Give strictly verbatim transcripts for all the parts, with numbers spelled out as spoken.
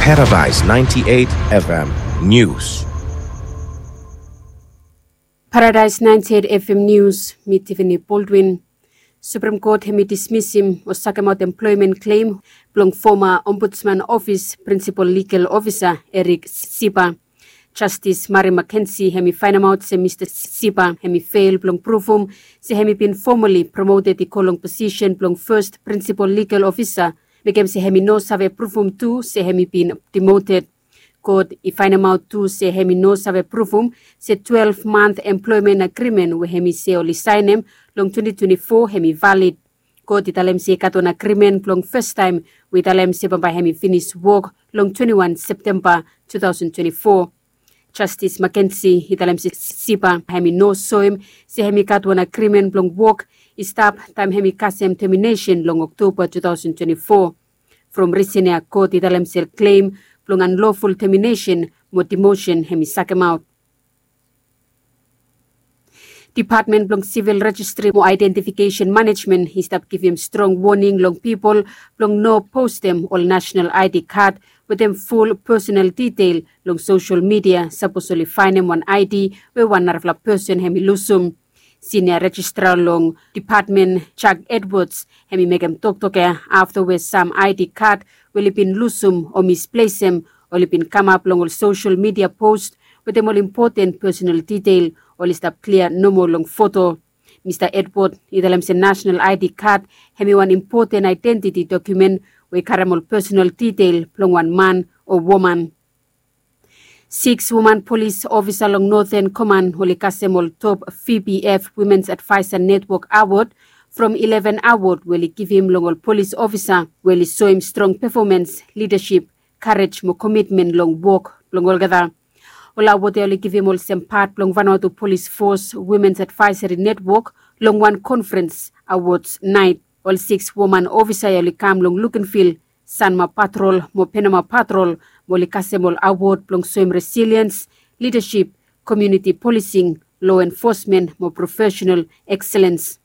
Paradise ninety-eight F M News. Paradise ninety-eight F M News, mi Tiffany Baldwin. Supreme Court hemi dismisim o sakemaot employment claim blong foma Ombudsman Office Principal Legal Officer Eric Sipa. Justice Mary McKenzie hemi faenemaot se Mista Sipa hemi fail blong pruvum se hemi bin formally promoted i go long posisen blong First Principal Legal Officer, mekem se hemi no save pruvum tu se hemi bin demoted. Kot i faenemaot tu se hemi no save pruvum se twelve month employment agreement we hemi se oli saenem long twenty twenty-four hemi valid. Kot i talem se i gat wan agreement blong fastaem we i talem se bambae hemi finis wok long twenty-one Septemba two thousand twenty-four. Justice McKenzie i talem se Sipa hemi no soem se hemi gat wan agreement blong wok i stap taem hemi kasem termination long Oktoba two thousand twenty-four. From risen ya kot i talem se claim blong unlawful termination mo demotion hemi sakemaot. Department blong Civil Registry mo Identification Management i stap givim strong woning long pipol blong no postem ol national I D card wetem ful personal detail long social media sapos oli faenem wan I D we wan narafala person hemi lusum. Senior Registrar long department Chuck Edwards hemi mekem toktok ya afta we sam I D card we oli bin lusum o misplesem oli bin kamap long ol social media post wetem ol impoten personal detail oli stap klia nomo long foto. Mista Edward i talem se national I D card hemi wan impoten identity dokumen we i karem ol personal detail blong wan man o woman. Six woman polis ofisa long Northern Command oli kasem ol top V P F Women's Advisor Network Award from eleven award we oli givim long ol polis ofisa we oli soem strong pefomans, lidasip, karej mo komitmen long wok blong olgeta. Ol award ya oli givim olsem pat blong Vanuatu Polis Fos Women's Advisory Network long wan konferens awards naet. Ol six woman ofisa ya oli kam long Lukenvil, Sanma Patrol mo Penama Patrol mo oli kasem ol awod blong soem resiliens, lidasip, komuniti polising, lo enfosmen mo profesenal ekselens.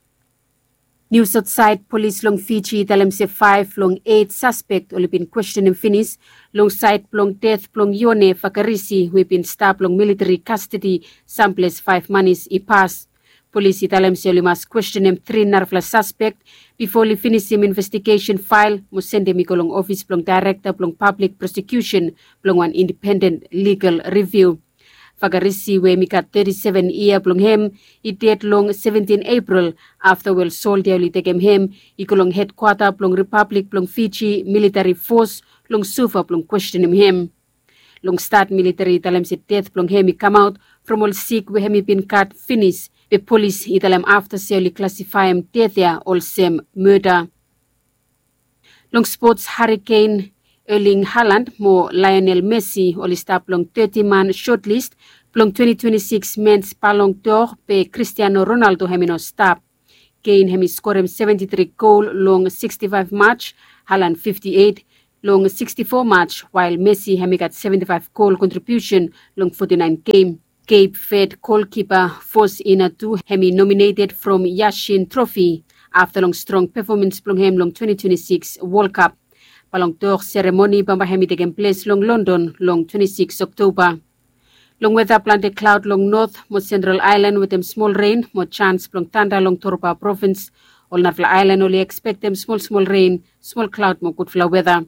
Nius aotsaed, polis long Fiji i talem se faef long eit saspek oli bin kwestenem finis long saed blong ded blong Yone Fakarisi we i bin stap long militeri kastedi samples faef manis i pas. Polis i talem se oli mas kwestenem tri narafala saspek bifo oli finisim investigesen fael mo sendem i go long ofis blong daerekta blong pablik prosekusen blong wan indipenden ligal riviu. Fakarisi we hemi gat teti seven yia blong hem i ded long seventin Epril afta we ol soldia oli tekem hem i go long hedkwata blong Ripablik blong Fiji militeri fos long Suva blong kwestenem hem. Long stat militeri i talem se ded blong hem i kamaot from ol sik we hem i bin gat finis, be polis i talem afta se oli klasifaem ded ya olsem mada. Long spots, Harry Kane, Erling Haaland mo Lionel Messi oli stap long teti man sotlis blong twenty twenty-six Men's Ballon d'Or, be Cristiano Ronaldo hem i no stap. Kane hem i skorem seventy-three gol long sixty-five match, Haaland fifty-eight long sixty-four match, wael Messi hem i gat seventy-five gol kontribiusen long forty-nine gem. Cape Verde golkipa Fos Inatu hem i nominated from Yashin Trophy afta long strong pefomans blong hem long twenty twenty-six World Cup. Ballon d'Or seremoni bambae hem i tekem ples long London long twenty-six Oktoba. Long weta, plante klaod long North mo Central Aelan wetem smol ren mo jans blong tanda long Torba provins. Ol narafala aelan oli ekspektem smol smol ren, smol klaod mo gudfala weta.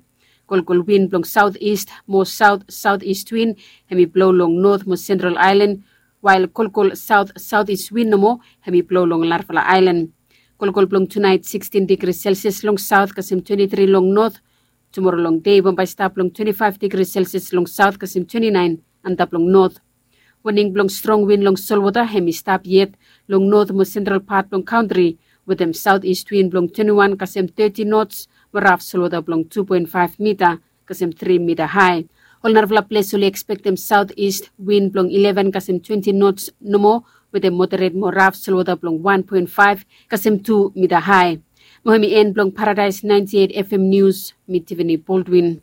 Kolkol win blong saotis mo saot saotis win hem i blo long North mo Central Aelan, wael kolkol saot saotis win nomo hem i blo long narafala aelan. Kolkol blong tunaet sixteen degri Celsius long saot kasem twenty-three long North. Tumoro long dei bambae stap long twenty-five degri Celsius long saot kasem twenty-nine antap long North. Waning blong strong win long solwota hem i stap yet long North mo Central pat blong kantri, wetem saotis win blong twenty-one kasem thirty knots mo raf solwota blong two point five mita kasem three mita hae. Ol narafala ples oli ekspektem saotis win blong eleven kasem twenty knots nomo wetem moderet mo raf solwota blong one point five kasem two mita hae. Mo hem i en blong Paradise ninety-eight F M News, mi Tiffany Baldwin.